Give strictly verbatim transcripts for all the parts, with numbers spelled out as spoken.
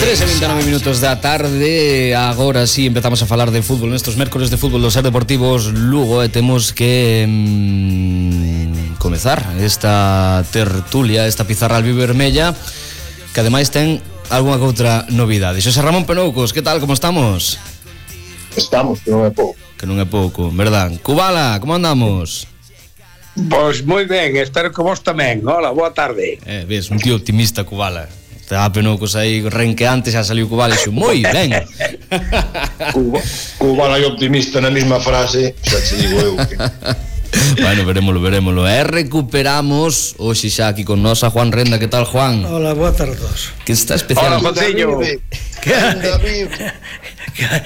tres e vinte e nove minutos da tarde. Agora sí empezamos a falar de fútbol nestos mércores de fútbol dos Ser Deportivos Lugo e temos que mm, comezar esta tertulia, esta pizarra albivermella, que ademais ten algunha outra novidade. Xosé Ramón Penoucos, que tal, como estamos? Estamos, que non é pouco. Que non é pouco, verdad? Cubala, como andamos? Pois moi ben, espero que vos tamén. Hola, boa tarde. Eh, ves, un tío optimista, Cubala. Estaba Penoucos aí renqueante, xa saliu Cubala e xo, moi ben. Cuba, Cubala e optimista na mesma frase, xa te digo eu que... Bueno, verémolo, verémolo. E recuperamos hoxe xa aquí con nos a Juan Renda. Que tal, Juan? Hola, boa tarde a todos. Que está especial. Hola, Joséño. Ainda vive.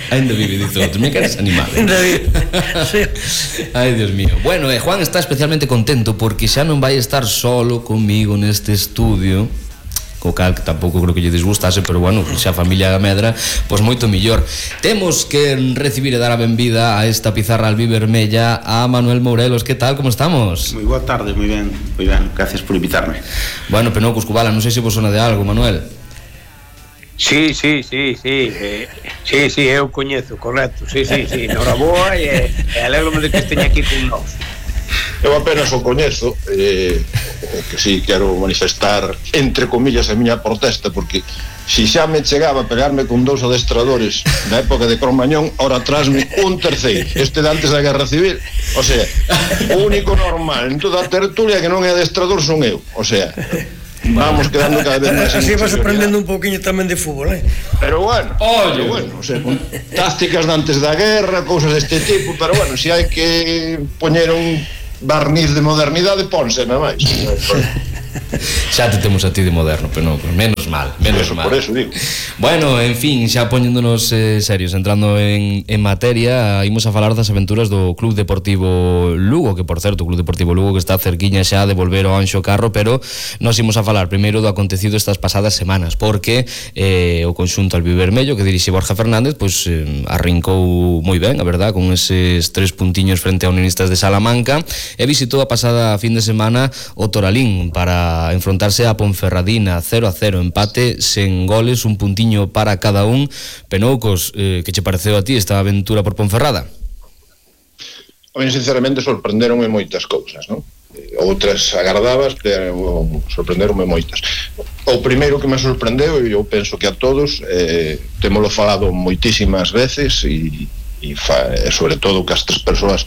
Ainda vive, dice outro. Me queres animado. Ainda vive. Sí. Ai, Dios mío. Bueno, eh, Juan está especialmente contento porque xa non vai estar solo comigo neste estudio, co cal que tampouco creo que lle disgustase, pero bueno, xa a familia Medra, pois moito millor. Temos que recibir e dar a benvida a esta pizarra albivermella a Manuel Mourelos. Que tal, como estamos? Moi boa tarde, moi ben, moi ben, gracias por invitarme. Bueno, Penoucos, Cubala, non sei se vos sona de algo, Manuel. Sí, sí, sí, sí, eh, sí, sí, eu coñezo, correcto, sí, sí, sí, noraboa e, e alegro-me de que esteña aquí con nós. Eu apenas o coñezo, eh, que si quero manifestar entre comillas a miña protesta, porque si xa me chegaba a pegarme con dous adestradores da época de Cromañón, ora atrásme un terceiro, este de antes da Guerra Civil. O sea, o único normal en toda a tertulia que non é adestrador son eu. O sea, vamos quedando cada vez máis. Así vas aprendendo un pouquiño tamén de fútbol, eh? Pero bueno, pero bueno, o sea, con tácticas de antes da guerra, cousas deste tipo, pero bueno, se si hai que poñer un barniz de modernidade, ponse, non máis. Xa te temos a ti de moderno, pero non, menos mal, menos eso, mal. Por eso digo. Bueno, en fin, xa poñéndonos eh, serios, entrando en, en materia, imos a falar das aventuras do Club Deportivo Lugo, que por certo, o Club Deportivo Lugo que está cerquiña xa de volver ao Anxo Carro, pero nós imos a falar primeiro do acontecido estas pasadas semanas, porque eh, o conxunto albivermello que dirixe Borja Fernández, pois eh, arrincou moi ben, a verdad, con eses tres puntiños frente a Unionistas de Salamanca, e visitou a pasada fin de semana o Toralín para enfrontarse a Ponferradina, cero a cero, empate sen goles, un puntiño para cada un. Penoucos, eh, que che pareceu a ti esta aventura por Ponferrada? A mí, sinceramente, sorprenderonme moitas cousas, non? Outras agardabas, pero sorprenderonme moitas. O primeiro que me sorprendeu, e eu penso que a todos, eh, temolo falado moitísimas veces, e, e, fa, e sobre todo que as tres persoas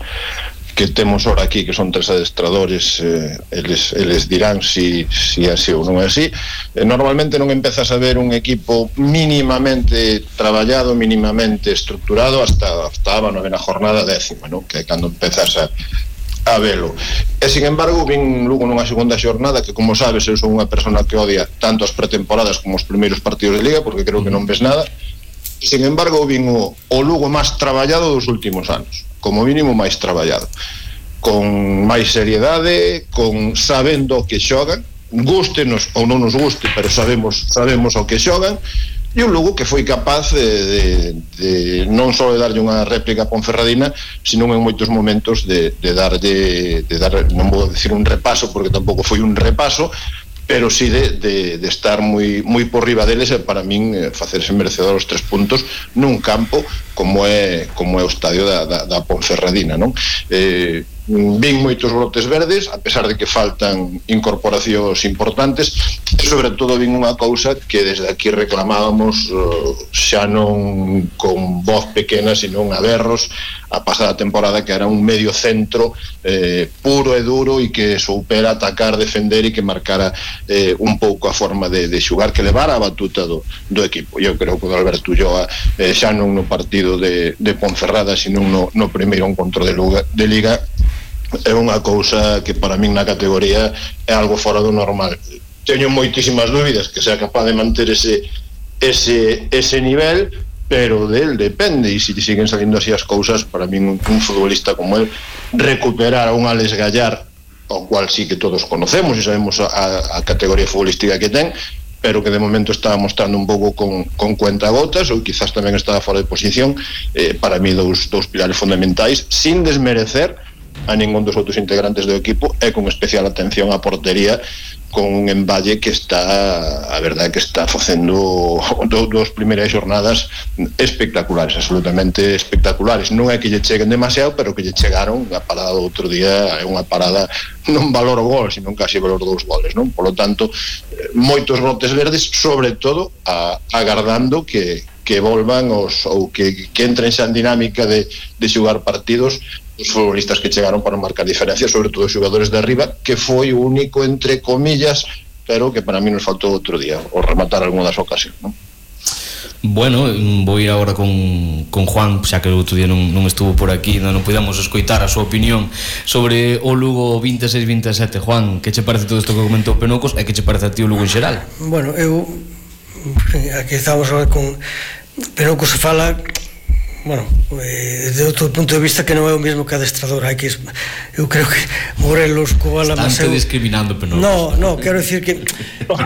que temos ora aquí, que son tres adestradores, eh, eles, eles dirán si, si é así ou non é así. Eh, normalmente non empezas a ver un equipo mínimamente traballado, mínimamente estructurado hasta, hasta a novena jornada décima, non? Que é cando empezas a, a velo. E, sin embargo, vin Lugo nunha segunda xornada que, como sabes, eu son unha persona que odia tanto as pretemporadas como os primeiros partidos de Liga, porque creo que non ves nada. Sin embargo, vin o, o Lugo máis traballado dos últimos anos, como mínimo máis traballado, con máis seriedade, con sabendo o que xogan, gústenos ou non nos guste, pero sabemos sabemos o que xogan, e un Lugo que foi capaz de, de, de non só de darlle unha réplica a Ponferradina, sino en moitos momentos de, de darlle, de dar, non vou dicir un repaso, porque tampouco foi un repaso, pero sí de, de, de estar moi, moi por riba deles, e para min eh, facerse merecedor os tres puntos nun campo como é como é o estadio da, da, da Ponferradina, non? Eh, vin moitos brotes verdes, a pesar de que faltan incorporacións importantes, e sobre todo vin unha cousa que desde aquí reclamábamos, uh, xa non con voz pequena, sino a berros, a pasada temporada, que era un medio centro eh, puro e duro, e que soupera atacar, defender, e que marcara eh, un pouco a forma de, de xugar, que levara a batuta do, do equipo. Eu creo que o Alberto Ulloa, eh, xa non no partido de, de Ponferrada, sino no, no primeiro encontro de, Luga, de Liga, é unha cousa que para min na categoría é algo fora do normal. Teño moitísimas dúbidas que sea capaz de manter ese, ese, ese nivel, pero del depende, e se siguen salindo así as cousas, para min un, un futbolista como él recuperar a un Alex Gallar, o cual sí que todos conocemos e sabemos a, a categoría futbolística que ten, pero que de momento estaba mostrando un pouco con, con cuentagotas, ou quizás tamén estaba fora de posición, eh, para mí dous, dous pilares fundamentais, sin desmerecer a ningún dos outros integrantes do equipo, e con especial atención á portería, con un emballe que está, a verdade que está facendo do, dos primeiras xornadas espectaculares, absolutamente espectaculares. Non é que lle cheguen demasiado, pero que lle chegaron. A parada do outro día é unha parada non valor o gol, sino casi valor dous goles, non? Por lo tanto, moitos brotes verdes, sobre todo a, agardando que que volvan os, ou que, que entren xa en dinámica de, de xugar partidos os futbolistas que chegaron para marcar diferencia, sobre todo os xogadores de arriba, que foi o único, entre comillas, pero que para mí nos faltou outro día, o rematar algunha das ocasións, non? Bueno, vou ir agora con, con Juan, xa que o outro día non, non estuvo por aquí, non, non podemos escoitar a súa opinión sobre o Lugo vinte e seis vinte e sete. Juan, que che parece todo isto que comentou Penocos e que che parece a ti o Lugo en xeral? Bueno, eu aquí estamos con Penocos se fala, bueno, desde outro punto de vista que non é o mesmo que adestrador. Hai que, eu creo que Morelos, Cobala, Estante discriminando Penocos. No, no, quero decir que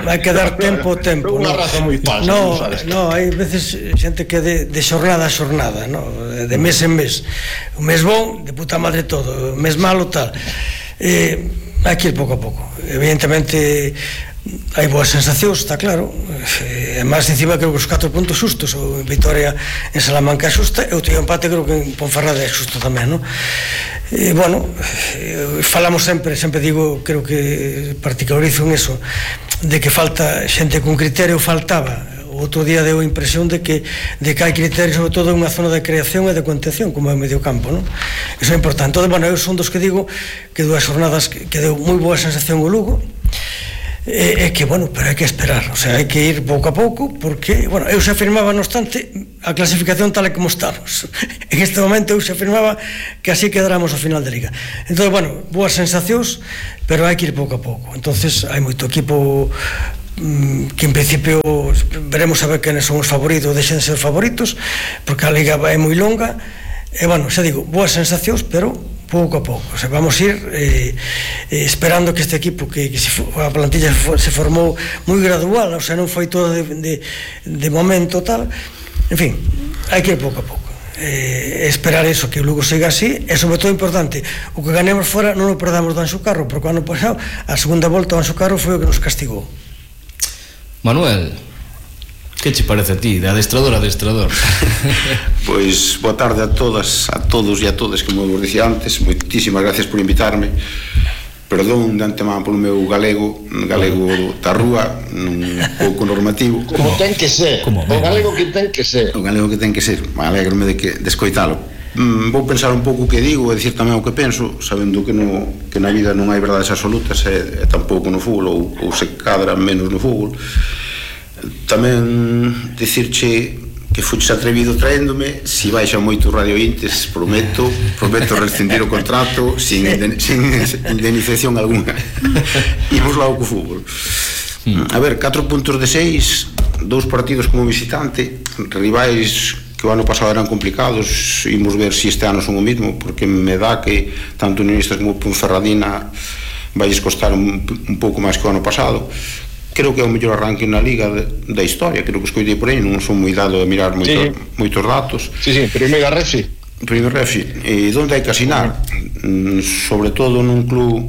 hai que dar tempo ao tempo. Unha raza moi falsa. No, no, hai veces xente que de, de xornada a xornada, no, de mes en mes. O mes bon, de puta madre todo, o mes malo tal. Eh, hai que ir pouco a pouco. Evidentemente hai boas sensacións, está claro. E máis encima creo que os catro puntos xustos, o Vitoria en Salamanca é xusta, e o tío empate creo que en Ponferrada é xusto tamén, non? E, bueno, falamos sempre, sempre digo, creo que particularizo en eso, de que falta xente con criterio, faltaba. O outro día deu a impresión de que, de que hai criterio, sobre todo en unha zona de creación e de contención, como é o medio campo, non? Iso é importante. Entón, bueno, eu son dos que digo que dúas jornadas que, que deu moi boa sensación o Lugo, é que, bueno, pero hai que esperar, o sea, hai que ir pouco a pouco, porque, bueno, eu xa afirmaba, no obstante, a clasificación tal e como estamos. En este momento eu xa afirmaba que así quedáramos ao final de Liga. Entón, bueno, boas sensacións, pero hai que ir pouco a pouco. Entonces, hai moito equipo mmm, que en principio veremos a ver quenes son os favoritos, deixen de ser favoritos, porque a Liga é moi longa, e, bueno, xa digo, boas sensacións, pero pouco a pouco, o sea, vamos ir eh, eh, esperando que este equipo que, que se, a plantilla se formou moi gradual, o sea, non foi todo de, de, de momento tal, en fin, hai que ir pouco a pouco, eh, esperar eso, que o Lugo siga así, e sobre todo importante, o que ganemos fora non o perdamos do Anxo Carro, porque o ano pasado a segunda volta do Anxo Carro foi o que nos castigou. Manuel, que che parece a ti, de adestrador a adestrador? Pois, boa tarde a todas, a todos e a todas, como vos dicía antes. Moitísimas gracias por invitarme. Perdón de antemán polo meu galego, galego da rúa, un pouco normativo. Como ten que ser, o galego que ten que ser. O galego que ten que ser, me alegrome de, que, de escoitalo. Mm, vou pensar un pouco o que digo e dicir tamén o que penso, sabendo que, no, que na vida non hai verdades absolutas e, e tampouco no fútbol, ou, ou se cadra menos no fútbol. Tamén dicirche que fuches atrevido traéndome, si baixa moito Radio Intes, prometo prometo rescindir o contrato sin, sin indemnización alguna. Imos lá co fútbol. A ver, catro puntos de seis, dous partidos como visitante, rivais que o ano pasado eran complicados. Imos ver se si este ano son o mismo, porque me dá que tanto Unionistas como Ponferradina vais costar un, un pouco máis que o ano pasado. Creo que é o mellor arranque na Liga de, da historia, creo que escoitei por aí, non son moi dado a mirar moito, sí. moitos datos. Sí, sí, primeira refi. Primeira refi. E onde hai que asinar? Mm, sobre todo nun club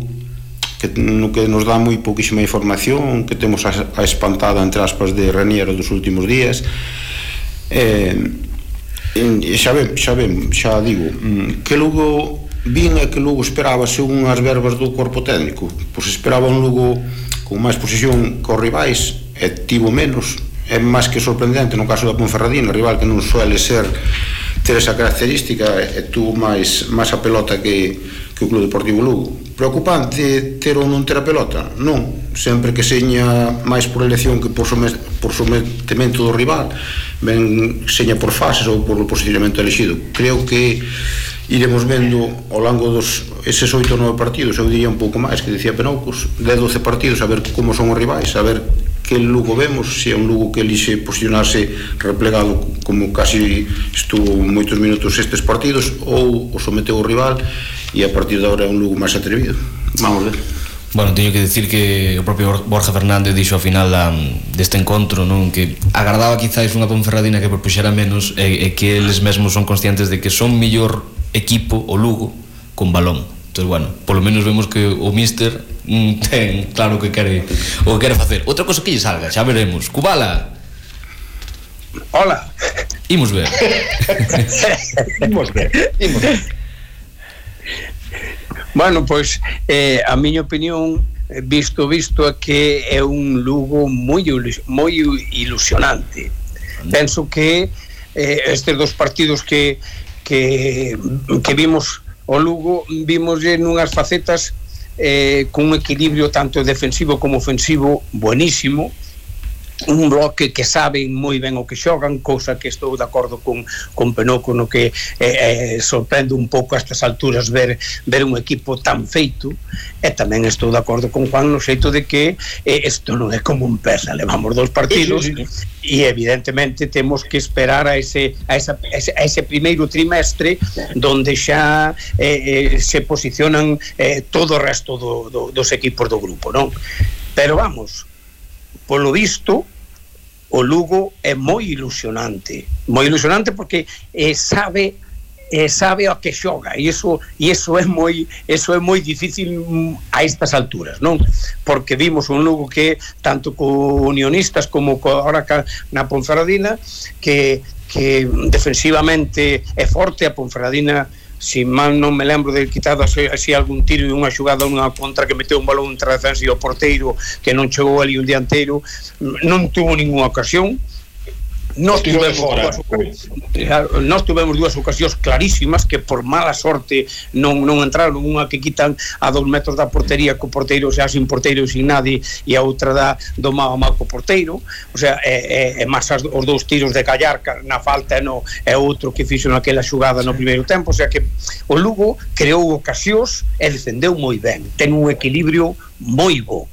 que, no que nos dá moi pouquísima información, que temos a, a espantada, entre aspas, de Raniero dos últimos días. E, e xa ven, xa ven, xa digo, que Lugo vin e que Lugo esperaba según as verbas do corpo técnico. Pois esperaba un Lugo con máis posesión que os rivais, e tivo menos. É máis que sorprendente no caso da Ponferradina, rival que non suele ser ter esa característica, e tuvo máis, máis a pelota que, que o Club Deportivo Lugo. Preocupante ter ou non ter a pelota? Non, sempre que seña máis por elección que por, somet, por sometemento do rival, ben seña por fases ou por o posicionamento elegido. Creo que iremos vendo ao longo dos eses oito ou nove partidos, eu diría un pouco máis, que decía Penocos, de doce partidos, a ver como son os rivais, a ver que Lugo vemos, se é un Lugo que elixe posicionarse replegado como casi estuvo moitos minutos estes partidos, ou o someteu o rival e a partir de agora é un Lugo máis atrevido. Vamos ver. Bueno, teño que decir que o propio Borja Fernández dixo ao final da, deste encontro, non, que agardaba quizáis unha Ponferradina que propuxera menos, e, e que eles mesmos son conscientes de que son mellor equipo o Lugo con balón. Entón, bueno, polo menos vemos que o míster mm, ten claro que quere o que quere facer. Outra cosa que lle salga, xa veremos. Cubala. Hola. Imos ver. Imos ver. Imos ver. Bueno, pois eh, a miña opinión, visto visto é que é un Lugo moi moi ilusionante. Penso que eh, estes dos partidos que que que vimos o Lugo, vimos nunhas facetas eh, con un equilibrio tanto defensivo como ofensivo buenísimo, un bloque que saben moi ben o que xogan, cousa que estou de acordo con, con Penoco, no que eh, eh, sorprende un pouco a estas alturas ver, ver un equipo tan feito, e tamén estou de acordo con Juan no xeito de que eh, isto non é como un persa, levamos dos partidos sí, sí, sí. E evidentemente temos que esperar a ese, a esa, a ese, a ese primeiro trimestre donde xa eh, eh, se posicionan eh, todo o resto do, do, dos equipos do grupo, non? Pero vamos, polo visto o Lugo é moi ilusionante moi ilusionante porque eh, sabe eh, sabe a que xoga e iso, e iso é moi iso é moi difícil a estas alturas, non? Porque vimos un Lugo que tanto co Unionistas como co, ahora na Ponferradina que, que defensivamente é forte. A Ponferradina, si mal non me lembro de quitado así, así algún tiro e unha xugada unha contra que meteu un balón entre a defensa e o porteiro que non chegou ali un dianteiro, non tuvo ninguna ocasión. Nós tivemos, fora, dúas, nós tivemos dúas ocasións clarísimas que por mala sorte non, non entraron, unha que quitan a dos metros da portería co porteiro xa sin porteiro e sin nadie, e a outra da do mau mau co porteiro, o sea, é, é, é máis as, os dous tiros de Callarca na falta e no, é outro que fixo naquela xugada no primeiro tempo, o sea que o Lugo creou ocasións e defendeu moi ben, ten un equilibrio moi bo.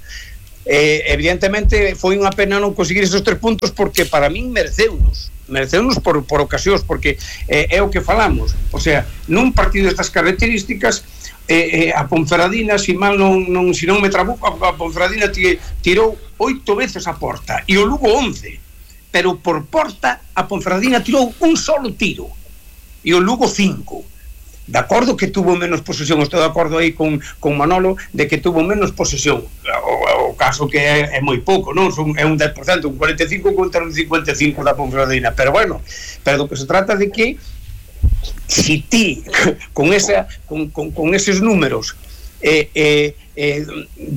Eh, evidentemente foi unha pena non conseguir esos tres puntos porque para min mereceunos mereceunos por, por ocasións porque eh, é o que falamos, o sea, nun partido destas características eh, eh, a Ponferradina, si mal non, non si non me trabuco, a Ponferradina tirou oito veces a porta e o Lugo once, pero por porta a Ponferradina tirou un solo tiro e o Lugo cinco. De acordo que tuvo menos posesión, estou de acordo aí con, con Manolo de que tuvo menos posesión, o, o caso que é, é moi pouco, non? Son, é un dez por cento, un cuarenta e cinco contra un cincuenta e cinco da Ponferradina, pero bueno, pero do que se trata de que si ti con, esa, con, con, con eses números eh, eh, eh,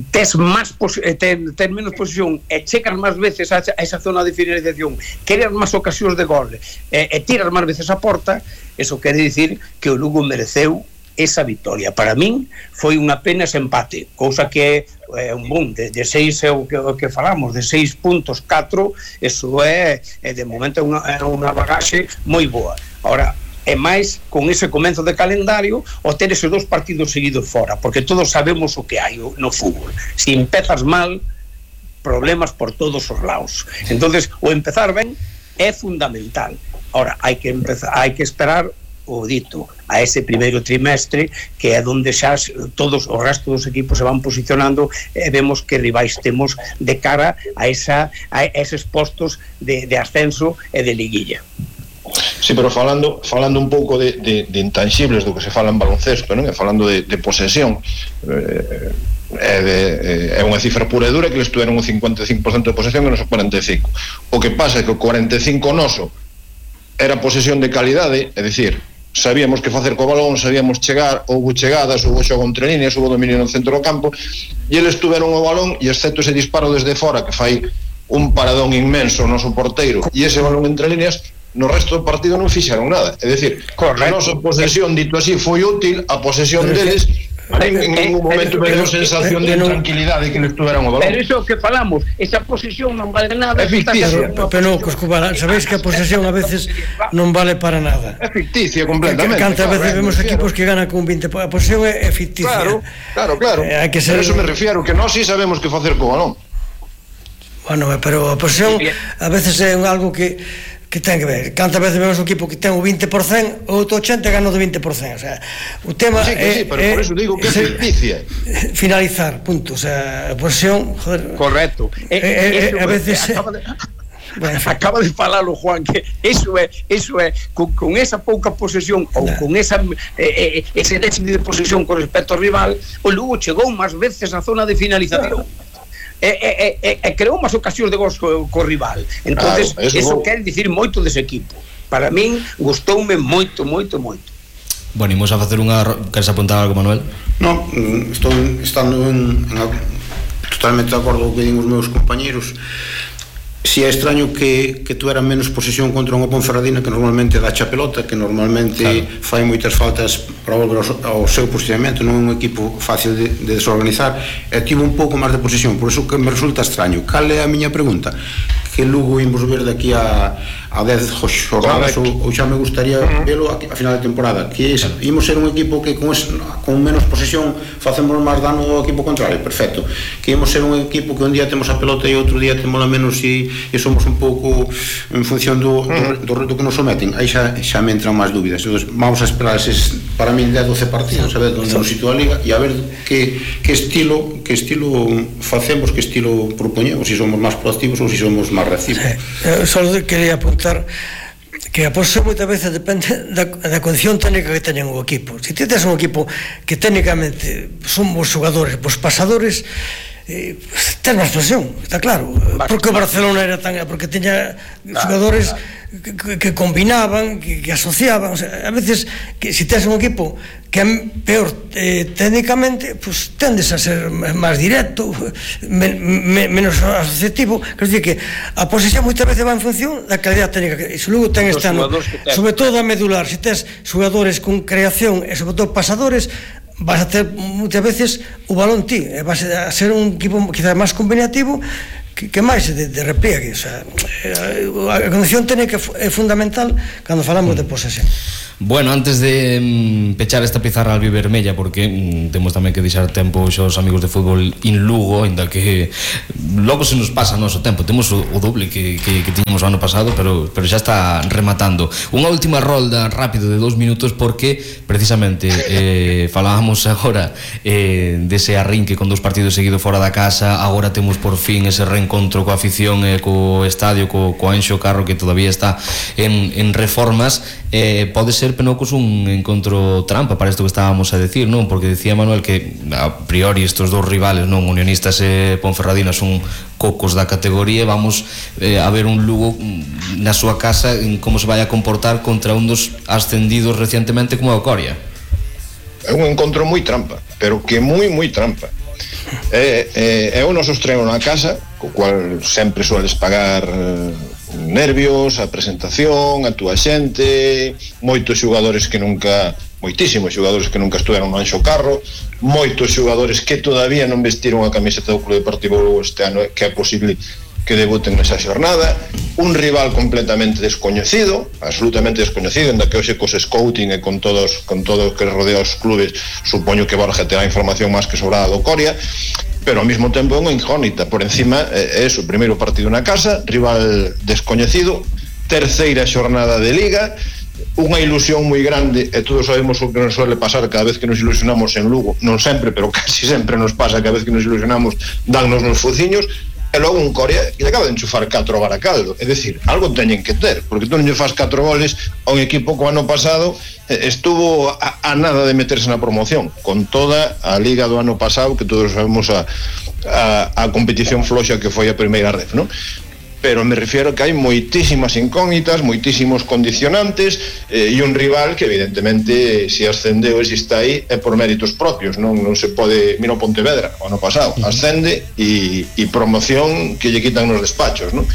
tes, más pos, eh, tes, tes menos posesión e checas máis veces a, a esa zona de finalización, queres máis ocasións de gol eh, e tiras máis veces a porta, eso quere dicir que o Lugo mereceu esa victoria. Para min foi unha pena ese empate, cousa que é un boom de, de seis é o que, o que falamos, de seis puntos catro, eso é, é de momento é unha, é unha bagaxe moi boa. Ahora, é máis con ese comenzo de calendario o ter eses dos partidos seguidos fora, porque todos sabemos o que hai no fútbol, se empezas mal problemas por todos os lados, entonces o empezar ben é fundamental. Ahora, hai que empezar, hai que esperar o dito a ese primeiro trimestre que é onde xa todos o resto dos equipos se van posicionando e vemos que rivais temos de cara a, esa, a eses postos de, de ascenso e de liguilla. Sí, pero falando falando un pouco de, de, de intangibles do que se fala en baloncesto, non? E falando de, de posesión, eh, é, de, é unha cifra pura e dura que eles tuveron un cincuenta e cinco por cento de posesión e non o cuarenta e cinco. O que pasa é que o cuarenta e cinco noso era posesión de calidade, é dicir, sabíamos que facer co balón, sabíamos chegar, houve chegadas, houve xogo entre líneas, houve dominio no centro do campo, e eles tuveron o balón, e excepto ese disparo desde fora que fai un paradón inmenso o noso porteiro, e ese balón entre líneas, no resto do partido non fixeron nada. É dicir, a nosa posesión, dito así, foi útil, a posesión deles en ningún momento me deu sensación de tranquilidade que les tuveran o balón. Pero iso que falamos, esa posesión non vale nada. É ficticia. Pero, Coscubala, sabéis que a posesión a veces non vale para nada. É ficticia completamente. Cantas veces vemos equipos que ganan con veinte, a posesión é ficticia. Claro, claro, claro. Hai que ser... Por eso me refiero, que nós sí sabemos que facer co balón. Bueno, pero a posesión a veces é algo que que ten que ver, cantas veces vemos un equipo que ten o vinte por cento, o outro ochenta por cento gana o vinte por cento, o sea, o tema sí, é, sí, pero é, por eso digo que é ficticia. Finalizar, punto, o sea, a posesión, joder. Correcto. É, é, é, a veces acaba de, acaba de falalo Juan, que eso é, eso é con, con esa pouca posesión ou con esa eh, ese déficit de posesión con respecto ao rival, o Lugo chegou máis veces á zona de finalización e, e, e, e creou máis ocasións de gol co, co rival. Entonces, claro, eso, eso quer dicir moito dese equipo. Para min gustoume moito, moito, moito. Bueno, imos a facer unha... Queres apuntar algo, Manuel? Non, estou estando en, en totalmente de acordo co que din os meus compañeros. Si é extraño que, que tuera menos posesión contra unha Ponferradina que normalmente dá a pelota, que normalmente claro. fai moitas faltas para volver ao, ao seu posicionamento, non é un equipo fácil de, de desorganizar, e tivo un pouco máis de posesión, por iso que me resulta extraño. Cal é a miña pregunta? Que Lugo imos ver daqui a, a dez jornadas, ou, ou xa me gustaría velo a, a final de temporada, que es, imos ser un equipo que con, es, con menos posesión facemos máis dano ao equipo contrario, perfecto, que imos ser un equipo que un día temos a pelota e outro día temos a menos e, e somos un pouco en función do, do, do reto que nos someten, aí xa, xa me entran máis dúbidas. Entonces, vamos a esperar eses, para mí, dez, doce partidos, a ver onde nos sitúa a Liga e a ver que, que estilo que estilo facemos, que estilo propoñemos, se si somos máis proactivos ou se si somos máis reactivos. Sí. Só quería apuntar que a posición moitas veces depende da, da condición técnica que teñen o equipo. Se ti tes un equipo que técnicamente son os xogadores, os pasadores, eh, ten máis presión, está claro. Porque o Barcelona era tan... porque teña xogadores que, que, que combinaban, que, que asociaban, o sea, a veces que se tes un equipo que é peor eh, técnicamente, pues tendes a ser máis directo, men, men, menos asociativo. Quer dizer que a posición moitas veces va en función da calidad técnica, e se logo ten este ano, sobre todo a medular, se tes xogadores con creación e sobre todo pasadores, vas a ter moitas veces o balón ti, e vas a ser un equipo quizás máis combinativo que, que máis de, de repliegue. O sea, a condición técnica é fundamental cando falamos de posesión. Bueno, antes de mm, pechar esta pizarra albivermella, porque mm, temos tamén que deixar tempo xos amigos de fútbol in Lugo, ainda que logo se nos pasa o noso tempo, temos o, o doble que, que, que tiñamos o ano pasado, pero, pero xa está rematando. Unha última rolda rápido de dous minutos, porque precisamente eh, falábamos agora eh, dese arrinque con dous partidos seguidos fora da casa, agora temos por fin ese reencontro coa afición e co estadio, co, co Anxo Carro, que todavía está en, en reformas. Eh, pode ser Penocos un encontro trampa para isto que estábamos a decir, non? Porque decía Manuel que a priori estos dous rivales, non, Unionistas e Ponferradina, son cocos da categoría, vamos eh, a ver un Lugo na súa casa en como se vai a comportar contra un dos ascendidos recientemente como a Coria. É un encontro moi trampa, pero que moi moi trampa. É, é, é o noso estreno na casa, co cual sempre sueles pagar eh, nervios, a presentación, a túa xente, moitos xogadores que nunca, moitísimos xogadores que nunca estuveron no Anxo Carro, moitos xogadores que todavía non vestiron a camiseta do Club Deportivo Lugo este ano, que é posible que debuten nesa xornada, un rival completamente descoñecido, absolutamente descoñecido, en da que hoxe cos scouting e con todos con todo o que rodea os clubes, supoño que Borja terá información máis que sobrada do Coria, pero ao mesmo tempo é unha incógnita. Por encima é o primeiro partido na casa, rival descoñecido, terceira xornada de Liga, unha ilusión moi grande, e todos sabemos o que nos suele pasar cada vez que nos ilusionamos en Lugo, non sempre, pero casi sempre nos pasa, cada vez que nos ilusionamos dannos nos fociños, e logo un Coria que acaba de enchufar catro Baracaldo. É dicir, algo teñen que ter, porque tú non lle faz catro goles a un equipo que o ano pasado estuvo a, a nada de meterse na promoción, con toda a Liga do ano pasado, que todos sabemos a, a, a competición floxa que foi a primeira ref, non? Pero me refiero que hai moitísimas incógnitas, moitísimos condicionantes, eh, e un rival que evidentemente se ascendeu e se está aí é por méritos propios, non non se pode, mira o Pontevedra o ano pasado, ascende e, e promoción que lle quitan nos despachos, non?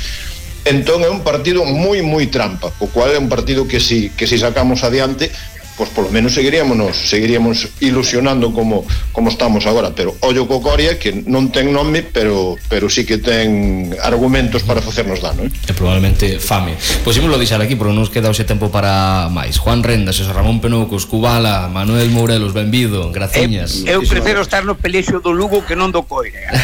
Entón é un partido moi moi trampa, o cual é un partido que si, que si sacamos adiante, pois polo menos seguiríamos seguiríamos ilusionando como como estamos agora, pero ollo co Coria, que non ten nome, pero pero sí que ten argumentos para facernos dano, eh? E probablemente fame. Pois imos lo deixar aquí, porque non nos queda hoxe tempo para máis. Juan Rendas, Xosé Ramón Penocos, Cubala, Manuel Morelos, benvido, graciñas. Eu, eu prefiro estar no pelexo do Lugo que non do Coira.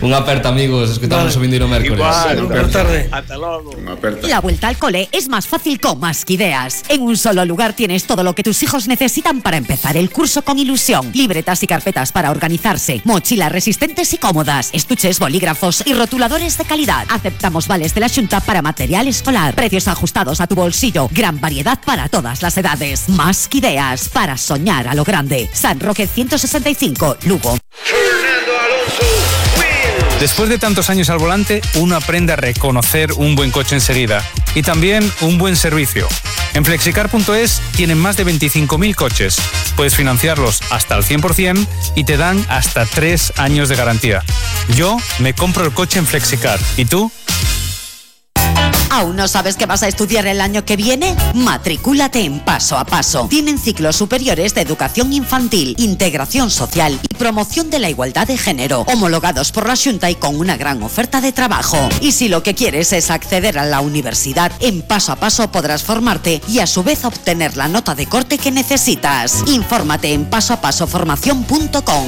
Unha aperta, amigos, escutamos vale. O vindeiro mércoles. Igual, boa tarde. Ata logo. Unha aperta. La vuelta al cole es más fácil con Más que Ideas. En un solo lugar tienes todo lo que tus hijos necesitan para empezar el curso con ilusión. Libretas y carpetas para organizarse, mochilas resistentes y cómodas, estuches, bolígrafos y rotuladores de calidad. Aceptamos vales de la Xunta para material escolar. Precios ajustados a tu bolsillo. Gran variedad para todas las edades. Más que ideas para soñar a lo grande. San Roque ciento sesenta y cinco, Lugo. Después de tantos años al volante, uno aprende a reconocer un buen coche enseguida y también un buen servicio. En flexicar punto es tienen más de veinticinco mil coches. Puedes financiarlos hasta el cien por ciento y te dan hasta tres años de garantía. Yo me compro el coche en Flexicar. ¿Y tú? ¿Aún no sabes qué vas a estudiar el año que viene? Matricúlate en Paso a Paso. Tienen ciclos superiores de educación infantil, integración social y promoción de la igualdad de género, homologados por la Xunta y con una gran oferta de trabajo. Y si lo que quieres es acceder a la universidad, en Paso a Paso podrás formarte y a su vez obtener la nota de corte que necesitas. Infórmate en paso a paso formación punto com.